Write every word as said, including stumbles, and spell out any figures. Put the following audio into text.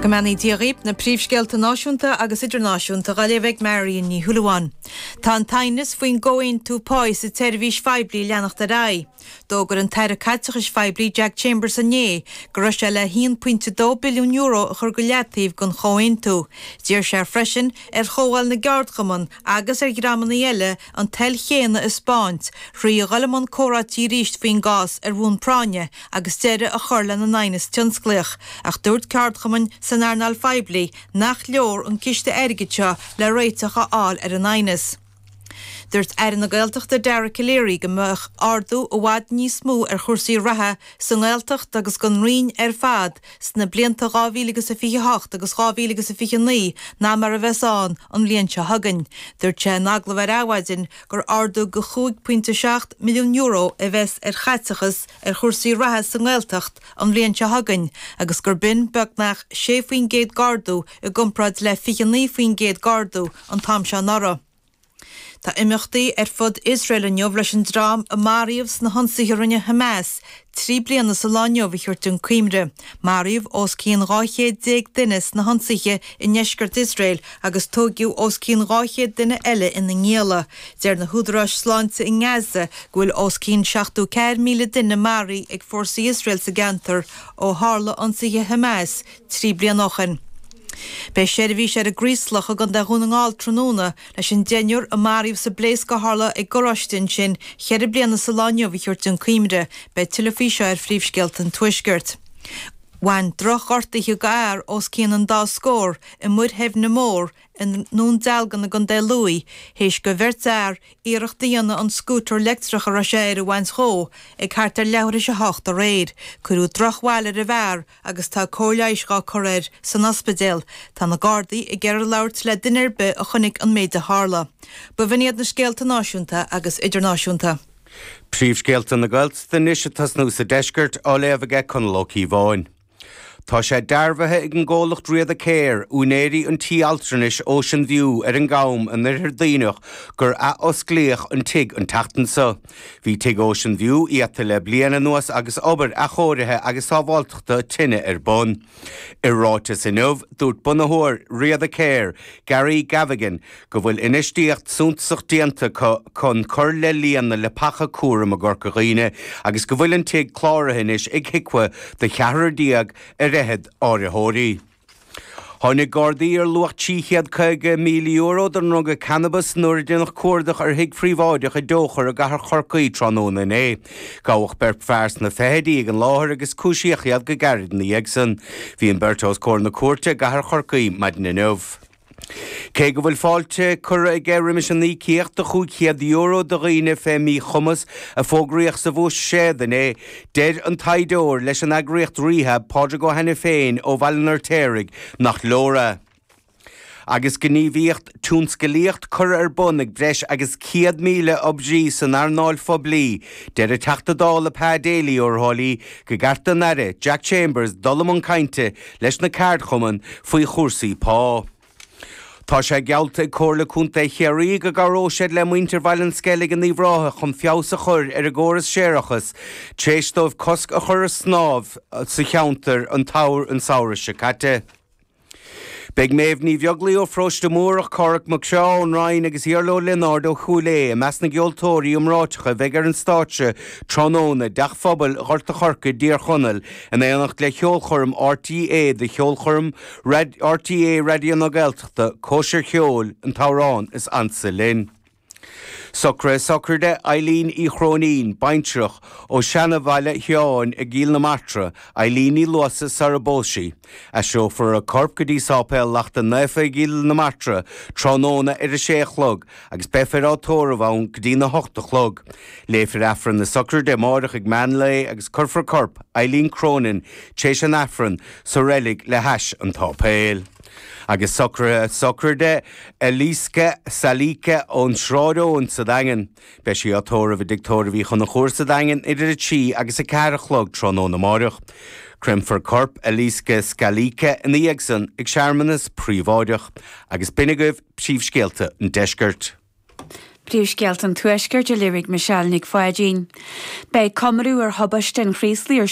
Go mbeannaí Dia dhaoibh na príomhscéalta náisiúnta agus idirnáisiúnta á léamh ag Marion Ní Shúilleabháin. Tá an t-aighneas faoin gcomhaontú pá sa tseirbhís phoiblí ag leanacht ar aghaidh. D'fhógair an tAire Caiteachais Phoiblí Jack Chambers inné go raibh sé le haon pointe dó billiún euro a chur go leataobh don chomhaontú. D'iarr sé freisin ar Chomhdháil na gCeardchumann agus ar dhreamanna eile an toil chéanna a thaispeáint, trí dhul i mbun comhráití arís faoin gcás ar bhonn práinne agus deireadh a chur lena n-aighneas tionsclaíoch, ach dúirt ceardchumainn san earnáil phoiblí nach leor an ciste airgid seo le réiteach a fháil ar an aighneas. Dúirt Aire na Gaeltachta Dara Calleary go mbeadh ardú i bhfad níos mó ar chúrsaí reatha sa nGaeltacht agus don Roinn ar fad sna blianta dhá mhíle agus a fiche hocht agus dhá mhíle agus a fiche naoi ná mar a bheas ann an bhliain seo chugainn. Dúirt sé in agallamh ar Adhmhaidin gur ardú go chúig pointe seacht milliún euro a bheas ar chaiteachas ar chúrsaí reatha sa nGaeltacht an bhliain seo chugainn agus gur b'in beagnach sé faoin gcéad d'ardú i gcomparáid le fiche naoi faoin gcéad d'ardú an t-am seo anuraidh. Tá imeachtaí ar fud Iosrael inniu leis an dream a maraíodh sna hionsaithe a rinne Hamas trí bliana sa lá inniu a thabhairt chun cuimhne. Maraíodh os cionn dhá chéad déag duine sna hionsaithe i ndeisceart Iosrael agus tógadh os cionn dhá chéad duine eile ina ngialla. Deir na húdaráis sláinte i nGaza go bhfuil os cionn seachtó ceathair míle duine maraithe ag fórsaí Iosrael sa gceantar ó tharla ionsaithe Hamas trí bliana ó shin. Beidh seirbhís ar an gCraoslach i gContae Dhún na nGall tráthnóna leis an deichniúr a maraíodh sa bpléasc a tharla ag garáiste ansin ceithre bliana sa lá inniu a thabhairt chun cuimhne. Beidh tuilleadh faoi seo ar phríomhscéalta an Tuaiscirt. Bhain drochghortuithe do fhear os cionn an dá scór i Muir Theimhne Mór i nDún Dealgan i gContae Lú, théis do bheirt fhear iarracht a dhéanamh an scútar leictreach a raibh sé air a bhaint dhó ag thart ar leathuair théis a hocht aréir. Cuireadh drochbhail ar an bhfear agus tá cóir leighis á cur air san ospidéal. Tá na Gardaí ag iarraidh labhairt le duine ar bith a chonaic an méid a tharla. Ba bh'in iad na scéalta náisiúnta agus idirnáisiúnta. Príomhscéalta na Gaeltachta anois ag tosnú sa deisceart á léamh aige Conall Ó Cíobháin. Tá sé dearbhaithe ag an gcomhlacht Riada Care, úinéirí an tí altranais Ocean View ar an gCam in Oirthear Duibhneach gur athosclaíodh an tigh an tseachtain seo. Bhí tigh Ocean View iata le bliain anuas agus obair athchóirithe agus sábháilteachta tine ar bun. I ráiteas inniu, dúirt bunaitheoir Riada Care, Gary Gavigan, go bhfuil infheistíocht suntasach déanta chun cur le líon na leapacha cúraim i gCorca Dhuibhne agus go bhfuil an tigh cláraithe anois ag HIQA do cheathrar déag ar fhichead áiritheoirí. Tháinig Gardaí ar luach trí chéad caoga míle euro den ndruga cannabas nuair a déanadh cuardach ar thigh phríobháideach i dTóchar i gcathair Chorcaí tráthnóna inné. Gabhadh beirt fear sna fichidí ag an láthair agus cúisíodh iad go gairid ina dhiaidh san. Bhí an beirt os comhair na cúirte i gcathair Chorcaí maidin inniu. Cé go bhfuil fáilte curtha aige roimis an íocaíocht de chúig chéad euro do dhaoine fé mhíchumas a fógraíodh sa bhuiséad inné, deir an taighdeoir leis an eagraíocht Rehab, Pádraig Ó hAiniféin ó Bhaile an Fheirtéaraigh, nach leor é. Agus gníomhaíocht tionsclaíocht curtha ar bun ag breis agus céad míle oibrí san earnáil phoiblí, deir an Teachta Dála Pa Daly ó Thrá Lí gur cheart don Aire Jack Chambers dul i mbun cainte leis na ceardchumainn faoi chúrsaí pá. Tá sé geallta ag Comhairle Contae Chiarraí go gcabhróidh siad le muintir Bhaile an Sceilg in Uíbh Ráthach chun feabhas a chur ar an gcóras séarachais tar éis dóibh cosc a chur ar snámh sa cheantar an samhradh seo caite. Beidh Méabh Ní Bheaglaoí ó Pharóiste Múrach, Cárthach Mac Craith ón Rinn agus Iarla Ó Lionáird ó Chúil Aodha i measc na gceoltóirí iomráiteacha a bheidh ar an stáitse tráthnóna i dTeach Phobail Ghort a' Choirce i dTír Chonaill in éineacht le cheolchoirm RTÉ do cheolchoirm RTÉ Raidió na Gaeltachta, Cóisir Cheoil, an t-amhrán is ansa linn. Socruithe sochraide Eileen Uí Chróinín, baintreach ó Seanabhaile Sheáin i gCill na Martra, Eileen Ní Luasa sara bpós sí. Aistreofar a corp go dtí Sáipéal Lachta Naofa i gCill na Martra tráthnóna ar a sé a chlog agus beifear á tórramh ann go dtí na hocht a chlog. Léifear Aifreann na sochraide amárach ag meán lae agus cuirfear corp Eileen Cronin tar éis an Aifrinn sa reilig le hais an tsáipéil. Agus socruithe sochraide Eliska Salika ón Sráid Eoin sa Daingean. Beidh sí á tórramh i dtigh tórraimh Uí Chonchúir sa Daingean idir a trí agus a ceathair a chlog tráthnóna amárach. Créamfar corp Eliska Scalika ina dhiaidh san ag searmanas príobháideach. Agus b'in agaibh príomhscéalta an deiscirt. Príomhscéalta an Tuaiscirt á léamh ag Michelle Nic Pháidín. Beidh comóradh ar thubaiste an Chraoslaigh ar